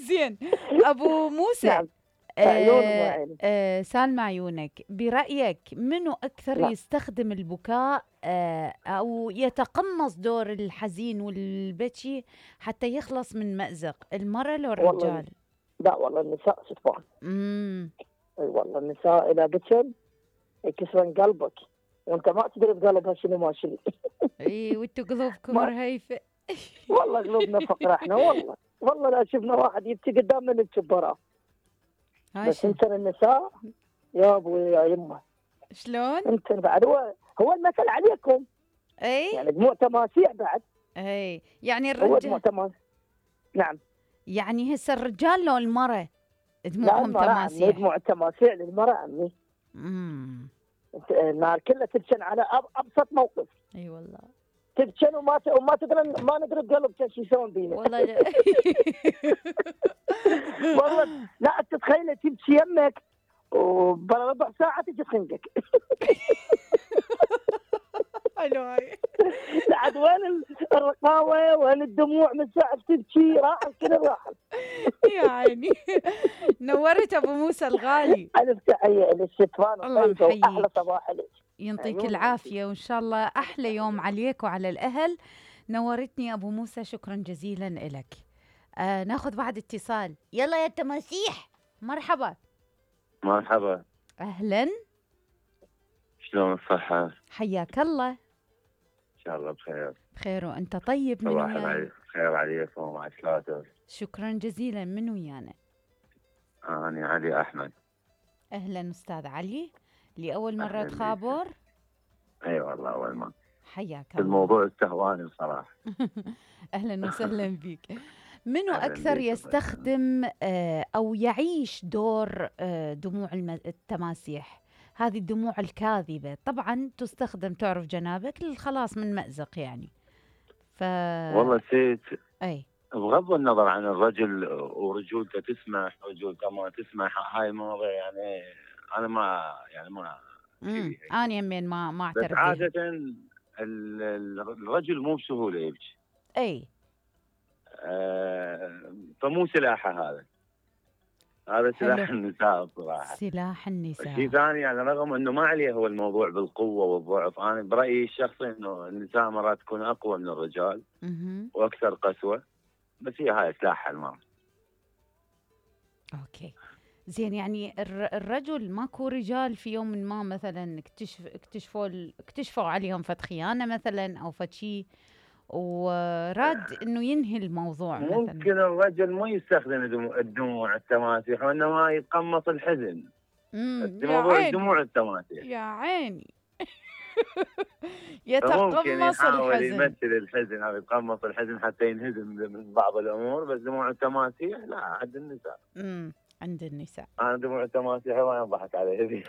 زين ابو موسى. نعم. عيون وعيني. سالم عيونك، برأيك منو أكثر نعم. يستخدم البكاء أو يتقمص دور الحزين والبكي حتى يخلص من مأزق، المرأة لو الرجال؟ لا والله النساء شطبان. اي والله النساء إذا بكن يكسرن قلبك وانت ما تدري بقلبها شنو ما شنو. اي وانتوا قلوبكم رهيفة. والله قلوبنا فقرة احنا، والله لا شفنا واحد يبكي قدامنا نبكي براه. بس انت النساء يا ابوي يا يمه شلون؟ انت بعد هو المثل عليكم. اي يعني دموع تماسيح بعد. اي يعني هو الرجال دموع تماسيح. نعم. يعني هسه الرجال لو المرأة دموعهم تماسيح؟ دموع التماسيح للمرأة عمي. النار كلها تبكن على ابسط موقف. اي والله تبكن وما تدري ما ندري بقلب شو يسوون بينا. والله والله لا تتخيل تبكي يمك وبربع ساعة تجي تخنقك. حلو هاي. عاد وين الرقاوة وين الدموع من ساعة تبكي راحت كذا راحت. يا عيني. نورت ابو موسى الغالي. الف تحية للشتوان. الله محييك. احلى صباح لك. يعطيك العافية وإن شاء الله أحلى يوم عليك وعلى الأهل. نورتني أبو موسى، شكرا جزيلا لك. ناخذ بعد اتصال. يلا يا تماسيح. مرحبا. مرحبا. أهلا. شلون الصحة؟ حياك الله. إن شاء الله بخير. بخير وأنت طيب. من ويانا؟ خير عليكم ومع ثلاثة. شكرا جزيلا. من ويانا؟ أنا علي أحمد. أهلا أستاذ علي، لأول مرة تخابر؟ اي والله اول مرة. حياك الله. الموضوع استهواني بصراحة. اهلا وسهلا بك. منو اكثر يستخدم او يعيش دور دموع التماسيح؟ هذه الدموع الكاذبة طبعا تستخدم، تعرف جنابك، للخلاص من مأزق يعني. والله سيد اي بغض النظر عن الرجل ورجولته تسمح رجولته ما تسمح، هاي المواضيع يعني انا ما أنا يمين ما أعترف. بس عادة الرجل مو بسهولة يبكي. أي. فمو سلاحه هذا سلاح النساء بصراحة. سلاح النساء. شيء ثاني يعني رغم انه ما عليه هو الموضوع بالقوة والضعف، انا برأيي الشخصي انه النساء مرات تكون اقوى من الرجال واكثر قسوة، بس هي هاي سلاحها المرأة. اوكي زين. يعني الرجل ماكو رجال في يوم ما مثلا اكتشفوا عليهم فد خيانة مثلا او فد شيء وراد انه ينهي الموضوع مثلا؟ ممكن الرجل ما يستخدم الدموع التماسيح وانما يتقمص الحزن. الموضوع دموع التماسيح. يا عيني. يتقمص الحزن. يحاول يمثل الحزن او يتقمص الحزن حتى ينهزم من بعض الامور، بس دموع التماسيح لا عند النساء. عند النساء. انا دموع التماسيح ما ينضحك عليه.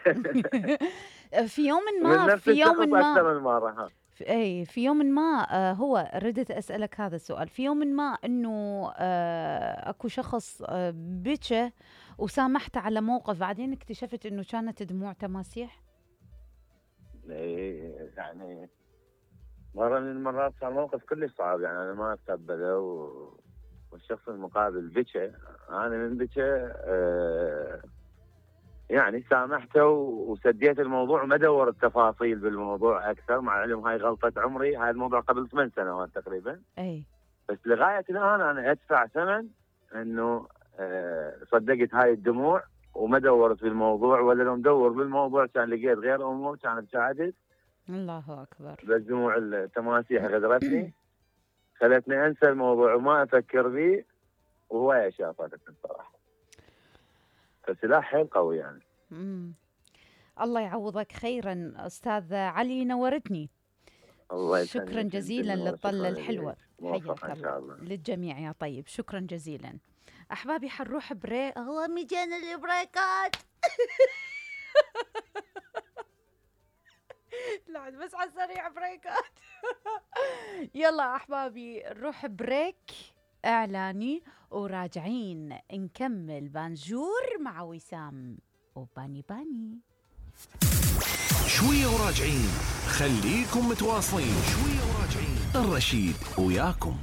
في يوم ما اكثر من مره. في يوم ما هو ردت أسألك هذا السؤال. في يوم ما أنه أكو شخص بكى وسامحت على موقف، بعدين اكتشفت أنه كانت دموع تماسيح. يعني مرة من المرات صار موقف كلش صعب، يعني أنا ما أتقبله والشخص المقابل بكى، أنا من بكى يعني سامحته وسديت الموضوع وما دور التفاصيل بالموضوع اكثر، مع العلم هاي غلطه عمري، هاي الموضوع قبل 8 سنوات تقريبا. اي بس لغايه الان انا ادفع ثمن انه صدقت هاي الدموع وما دورت بالموضوع، ولا لو مدور بالموضوع كان لقيت غير امور كانت ساعدت. الله اكبر. بس دموع التماسيح غدرتني، خلتني انسى الموضوع وما افكر به، وهوايه شافت الصراحه. فسلاح حيل قوي يعني. الله يعوضك خيرا استاذ علي، نورتني. الله شكرا جزيلا للطلة الحلوة. حياك الله. للجميع يا طيب، شكرا جزيلا. احبابي حنروح بريك. هو مجانا البريكات. لا بس على السريع بريكات. يلا احبابي نروح بريك اعلاني وراجعين نكمل بانجور مع وسام وباني باني. شوية وراجعين، خليكم متواصلين. شوية وراجعين، الرشيد وياكم.